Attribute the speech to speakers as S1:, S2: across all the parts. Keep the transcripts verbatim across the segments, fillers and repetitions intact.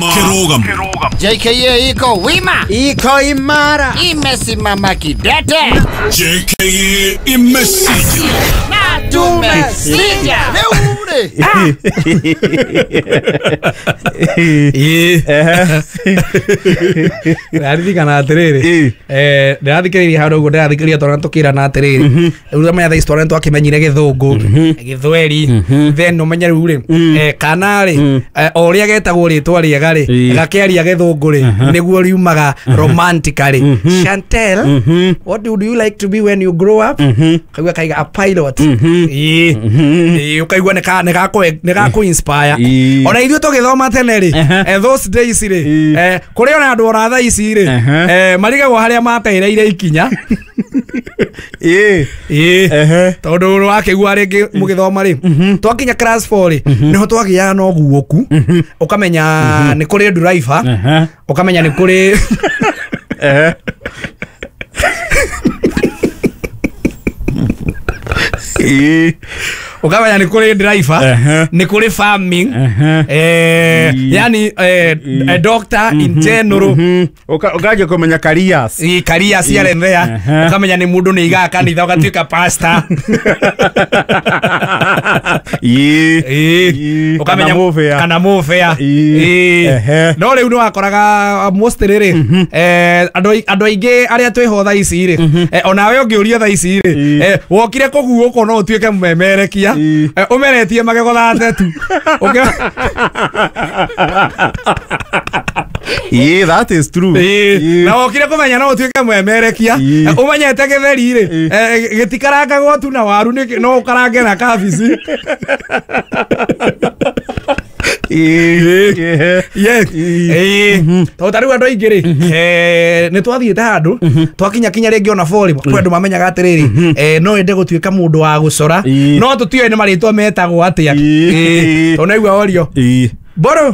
S1: Kĩrũgamo.
S2: J K A iko wima,
S3: iko imara,
S2: imesimama kidete.
S1: J K A imesija
S2: na tumesija. Leo
S4: Ndĩraririkana atĩrĩrĩ, eh ndĩrathikĩrĩria handũ ũguo ndĩrathikĩrĩria twana tũkĩrana atĩrĩrĩ, rĩu ũmenya thaa ici twana nĩtwakĩmenyire gĩthũngũ gĩthweri, then ũmenye rĩu rĩ kana rĩ o ũrĩa getagwo rĩtwa rĩega rĩ gakĩaria gĩthũngũ rĩ nĩguo riumaga romantically. Chantel, what do you like to be when you grow up? Kaigua kaiga a pilot. Ĩĩ ĩĩ ũkaigua nĩ gakũ inspire. Ona ithuĩ tũgĩthoma tene rĩ, those days rĩ, kũrĩ ona andũ ona thaa ici rĩ marigagwo harĩa matereire ikinya. Ĩĩ ĩĩ tondũ wakĩigua rĩngĩ mũgĩthoma rĩ twakinya class four rĩ nĩho twagĩaga na ũguũku, ũkamenya nĩ kũrĩ driver, ũkamenya nĩ kũrĩ ukamenya nĩ kũrĩ driver, nĩ kũrĩ farming, eh yani a doctor in general,
S5: ukaje kumenya careers,
S4: i careers here and there, ukamenya nĩ mũndũ nĩ igaga kanitha ũgatuĩka pastor.
S5: Ĩĩ
S4: ukamenya kana mũbea. Ĩĩ no rĩu nĩ wakoraga most rĩrĩ eh andũ andũ aingĩ arĩa twĩho thaa ici rĩ, onawe ũngĩũria thaa ici rĩ wokire kũguũkwo no ũtuĩke mũmemerekia umeretie magego thate tu.
S5: Yeah, that is true.
S4: Na wokire kũmenya no ũtuĩke mũmemerekia ũmenyete gĩtheri rĩ gĩtikarangagwo tu na waru no ũkarange na kabici. Tondũ ta rĩu andũ aingĩ rĩ nĩ twathiĩte handũ twakinya kinya rĩngĩ ona bori kwĩ andũ mamenyaga atĩrĩrĩ no ende gũtuĩka mũndũ wa gũcora no tũtiũĩ nĩ marĩtwa metagwo atĩa. Tondũ naigua orio Mbũrũ.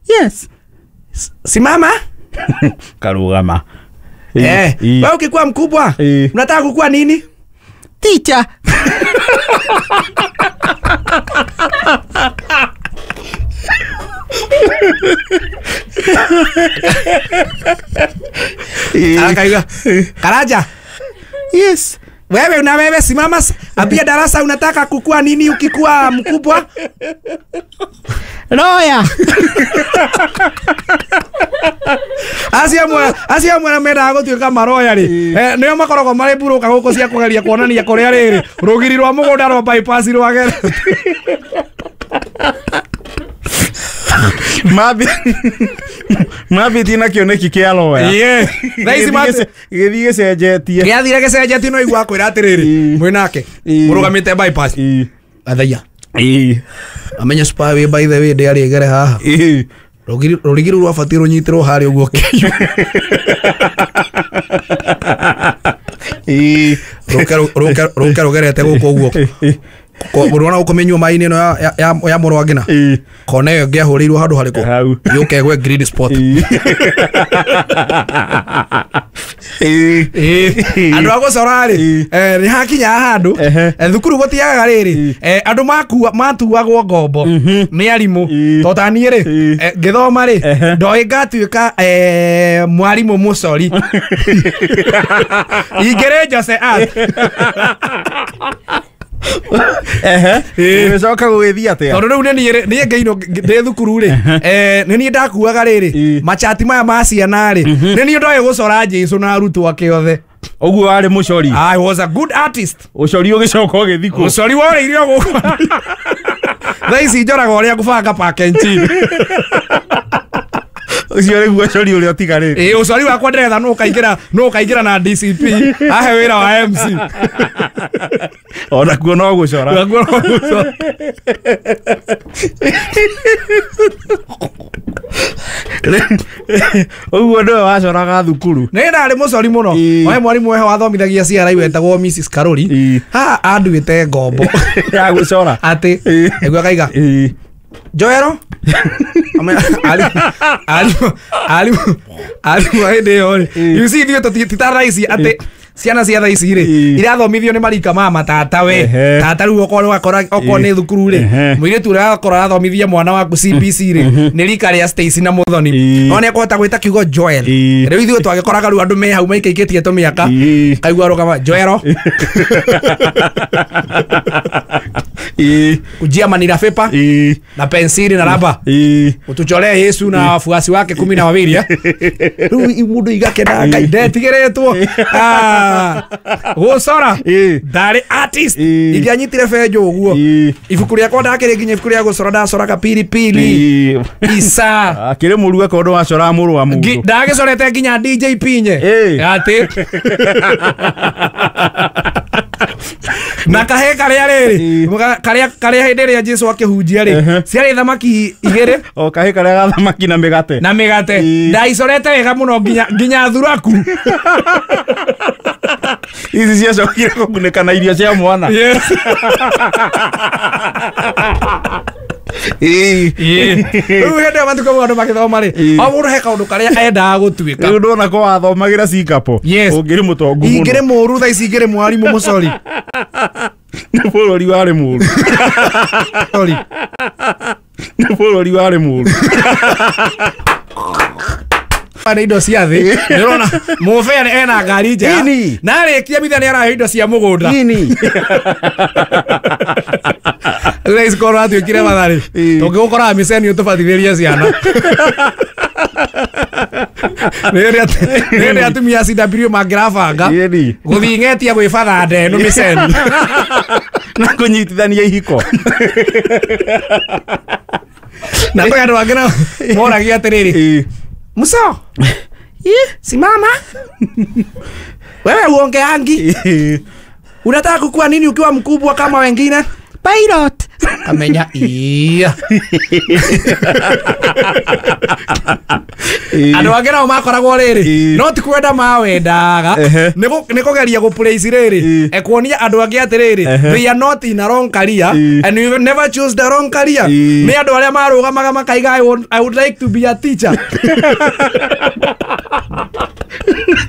S5: Yes.
S4: Simama.
S5: Karugama.
S4: Eh, wewe ukikuwa mkubwa unataka kukua nini?
S3: Teacher.
S4: Akaiga Karaja.
S5: Yes.
S4: Wewe una wewe simama ambia darasa unataka kukua nini ukikuwa mkubwa?
S3: Lawyer.
S4: Acia mwe acia mwe mendaga gũtuĩka maroya rĩ nĩo makoragwo marĩ mburũka gũkũ cia kũgeria kuonania kũrĩa rĩrĩ rũgiri rwa mũgũnda rwa bypass rwagere.
S5: Mabi mabi tina kĩoneki kĩa lawyer.
S4: Ĩĩ thaa ici
S5: gĩthiĩ gĩcenjetie
S4: gĩathire gĩcenjetie no igua kwĩra atĩrĩrĩ mwĩnake mũrũgamĩte bypass athaia amenye spy by the way ndĩarĩ ĩgere haha rũgiri rũrigi rũu rwabatiĩ rũnyitĩrwo harĩa ũguo kĩu rũke rũke rũgerete gũkũ ũguo ũrona gũkũ mĩnyua maĩ-inĩ ĩno ya ya mũrũ wa ngina kona ĩyo ĩngĩahũrĩirwo handũ harĩkũ yũke ĩgwe green spot. Andũ a gũcora rĩ nĩ hakinyaga handũ thukuru gũtiagaga rĩrĩ andũ matuagwo ngombo nĩ arimũ tondũ ta niĩ rĩ ngĩthoma rĩ ndoĩ ngatuĩka mwarimũ mũcori ingĩrĩ Jose Art.
S5: Ehe ũgĩcoka gũgĩthiĩ atĩa?
S4: Tondũ rĩu nĩ niĩ ngĩinwo ndĩ thukuru rĩ nĩ niĩ ndakuaga rĩrĩ machati maya ma ciana rĩ nĩ niĩ ndoĩ gũcora Jesũ na arutwo ake othe.
S5: Ũguo warĩ mũcori?
S4: I was a good artist.
S5: Ũcori ũgĩcoka ũgĩthiĩ kũ?
S4: Ũcori worĩire o gũkũ. Thaa ici njoraga ũrĩa ngũbanga pakenji.
S5: Ũcio nĩguo ũcori ũrĩa ũtigarĩte.
S4: Ĩĩ ũcori wakwa ndĩretha nũ ũkaingĩra nũ ũkaingĩra na D C P ahe wĩra wa M C.
S5: Ona kuo no gũcora.
S4: Nakuo no gũcora.
S5: Ũguo nĩwe wacoraga thukuru?
S4: Nĩ ndarĩ mũcori mũno. Ohe mwarimũ weho wathomithagia C R I wetagwo Missus Karori. Haha anduĩte ngombo
S5: ya gũcora.
S4: Atĩ nĩguo akaiga Joero arimũ arimũ arimũ hĩndĩ ĩyo rĩ you see ithuĩ ti ta thaa ici atĩ Ciana cia thaa ici rĩ
S5: Ĩĩ.
S4: irathomithio nĩ marika ma matata we.
S5: Ehe.
S4: Tata rĩu okorwo wakora okorwo nĩ thukuru rĩ
S5: Ehe.
S4: mũirĩtu ũrĩa akora arathomithia mwana waku C B C rĩ nĩ rika rĩa Stacy na Muthoni.
S5: Ĩĩ.
S4: No nĩ ekũhota gwĩta kiugo Joel.
S5: Ĩĩ.
S4: Rĩu ithuĩ twagĩkoraga rĩu andũ me hau maikaikĩtie tũmĩaka
S5: Ĩĩ.
S4: kaigua rũgama Joelo
S5: Ĩĩ.
S4: kujia manila paper
S5: Ĩĩ.
S4: na pensili na raba
S5: Ĩĩ.
S4: utuchoree Yesu na wafuasi wake kumi na wawili eh? Rĩu mũndũ igakena Ngai ndetigĩrĩtwo. Ah, gũcora
S5: Ĩĩ.
S4: ndarĩ artist
S5: Ĩĩ.
S4: ingĩanyitire benjũ ũguo
S5: Ĩĩ.
S4: ibuku rĩakwa ndakĩrĩ nginya ibuku rĩa gũcora ndacoraga pilipili
S5: Ĩĩ.
S4: isa
S5: Akĩrĩ mũru akorwo ndwacoraga mũrũ wa
S4: Ngi-
S5: mũndũ.
S4: ndagĩcorete nginya D J Pinye
S5: Ĩĩ.
S4: atĩ na kahe karĩa rĩrĩ
S5: Ĩĩ.
S4: Mũga- karĩa karĩa hĩndĩ ĩrĩa Jesu akĩhunjia rĩ
S5: Ehe.
S4: ciarĩ thamaki igĩrĩ
S5: O kahĩ karĩa ga thamaki na mĩgate.
S4: na mĩgate
S5: Ĩĩ.
S4: ndaicorete wega mũno nginya nginya thuraku.
S5: Ici ciacokire kũgunĩka na irio cia mwana.
S4: Yes.
S5: Ĩĩ.
S4: Rĩu hĩndĩ ĩyo matukũ mau andũ magĩthoma rĩ
S5: Ĩĩ.
S4: o mũndũ he kaũndũ karĩa endaga gũtuĩka.
S5: Rĩu ndona ko wathomagĩra Singapore.
S4: Yes.
S5: Ũngĩrĩ mũtongu mũno.
S4: Ingĩrĩ mũru thaa ici ingĩrĩ mwarimũ mũcori.
S5: Nĩ bũrũri warĩ mũru.
S4: Sorry.
S5: Nĩ bũrũri warĩ mũru.
S4: Nĩ indo cia thĩ nĩũrona mũbea ena ngari njega
S5: Ĩni.
S4: na arĩkia mitha nĩ arahe indo cia mũgũnda.
S5: Ĩni.
S4: Rĩu ici korwo atuĩkire matharĩ
S5: Ĩĩ.
S4: tũngĩgũkoraga mĩceni ũtũbatithĩrie ciana. Nĩ hĩndĩ atumia a C W mangĩrabanga
S5: Ĩni.
S4: gũthiĩ ng'etia gwĩbatha ndeno mĩceni.
S5: Na kũnyitithania ihiko.
S4: Na kwĩ andũ angĩ nao moragia atĩrĩrĩ
S5: Ĩĩ.
S4: Muso simama wewe uongeangi
S5: Ĩĩ.
S4: unataka kukua nini ukiwa mkubwa kama wengine? Pilot. Kamenya iya.
S5: Ĩĩ.
S4: Andũ angĩ nao makoragwo rĩrĩ
S5: Ĩĩ.
S4: no ti kwenda mawendaga
S5: Ehe.
S4: nĩ gũ- nĩ kũgeria gũplace rĩrĩ
S5: Ĩĩ.
S4: e kuonia andũ angĩ atĩrĩrĩ
S5: Ehe.
S4: they are not in a wrong career
S5: Ĩĩ.
S4: and you never choose the wrong career.
S5: Ĩĩ.
S4: Nĩ andũ arĩa marũgamaga makaiga I would, I would like to be a teacher.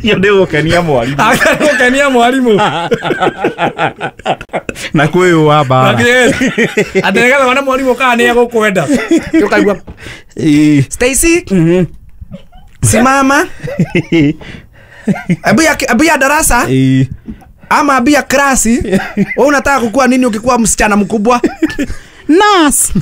S5: Iyo nĩ gũkenia mwarimũ.
S4: Agakenia mwarimũ.
S5: Na kwĩyũa mbara.
S4: Atĩ nĩgetha wone mwarimũ kana nĩ egũkwenda ũkaigua
S5: Ĩĩ.
S4: Stacy
S5: Mhm.
S4: simama Abu ya, abu ya darasa
S5: Ĩĩ.
S4: ama abia klasi wewe unataka kukua nini ukikuwa msichana mkubwa? Nurse.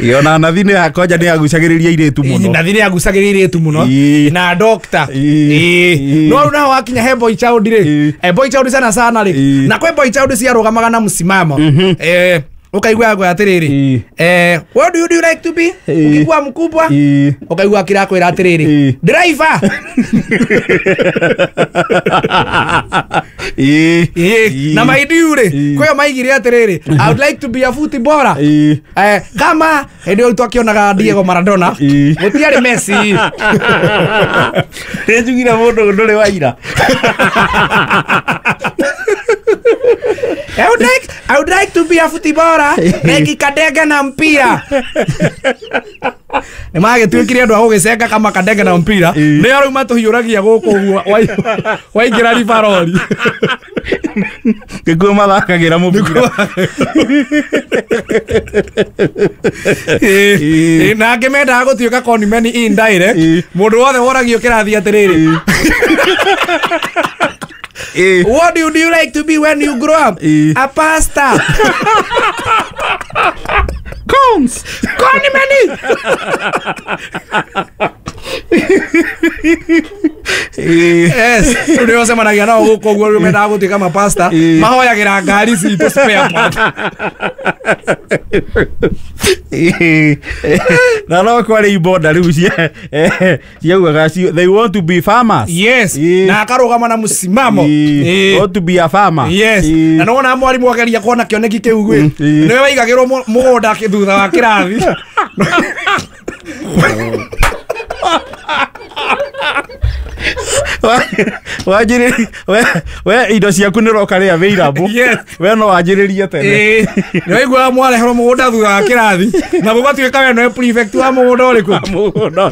S5: Ĩĩ, ona nathi nĩ akonja nĩ agucagĩrĩria airĩtu mũno.
S4: Nathi nĩ agucagĩrĩria airĩtu mũno
S5: Ĩĩ.
S4: na doctor.
S5: Ĩĩ.
S4: Ĩĩ.
S5: Ĩĩ.
S4: No rĩu naho wakinya he boy child rĩ
S5: Ĩĩ.
S4: eh, boy child sana sana rĩ
S5: Ĩĩ.
S4: na kwĩ boy child ciarũgamaga na msimamo eh ukaigua gwa atĩrĩrĩ
S5: Ĩĩ.
S4: eh what do you do like to be
S5: Ĩĩ.
S4: ukikuwa mkubwa?
S5: Ĩĩ.
S4: Ukaigua akĩrakwĩra atĩrĩrĩ
S5: Ĩĩ.
S4: driver.
S5: Ĩĩ.
S4: Ĩĩ. Na maidiu rĩ
S5: Ĩĩ.
S4: kwĩyo maigire atĩrĩrĩ I would like to be a footballer.
S5: Ĩĩ.
S4: Eh, kama hĩndĩ ĩyo twakĩonaga Diego Maradona
S5: Ĩĩ.
S4: gũtiarĩ Messi.
S5: Nĩ njugire mũndũ ndũrĩ waira.
S4: I would like, I would like to be a footballer like Kadenge na mpira. Nĩ magĩtuĩkire andũ a gũgĩcenga kama Kadenge na mpira
S5: Ĩĩ.
S4: nĩo rĩu matũhiũragia gũkũ ũguo wai- waingĩra ribarori.
S5: Nĩkuo mathakagĩra mũbira.
S4: Ĩĩ.
S5: Ĩĩ.
S4: Ĩĩ, na angĩ mendaga gũtuĩka conman indirect
S5: Ĩĩ.
S4: mũndũ wothe woragio kĩrathi atĩrĩrĩ
S5: Ĩĩ.
S4: What do you, do you like to be when you grow up?
S5: Ĩĩ.
S4: A pastor.
S5: Cons.
S4: Conman.
S5: Ĩĩ.
S4: Yes. Rĩu nĩo ũcemanagia nao gũkũ ũguo rĩu mendaga gũtuĩka mapasta
S5: Ĩĩ.
S4: mahoyagĩra ngari citũ spare part.
S5: Ĩĩ. Na no kwarĩ ibonda rĩu cia eh, ciaugaga ci- they want to be farmers.
S4: Yes.
S5: Ĩĩ.
S4: Na akarũgama na mũsimamo.
S5: Ĩĩ.
S4: Ĩĩ.
S5: Want to be a farmer.
S4: Yes.
S5: Ĩĩ.
S4: Na nĩwona mwarimũ ageria kuona kĩoneki kĩu gwĩ
S5: Mm, ĩĩ.
S4: nĩwe waigagĩrwo mũ- mũgũnda kĩ- thutha wa kĩrathi.
S5: Wanjĩrĩrie we we indo ciaku nĩ roka rĩ available.
S4: Yes.
S5: We no wanjĩrĩrie tene.
S4: Ĩĩ, nĩ waiguaga mwareherwo mũgũnda thutha wa kĩrathi na gũgatuĩka we nowe prefect wa mũgũnda ũrĩkũ.
S5: Mũgũnda.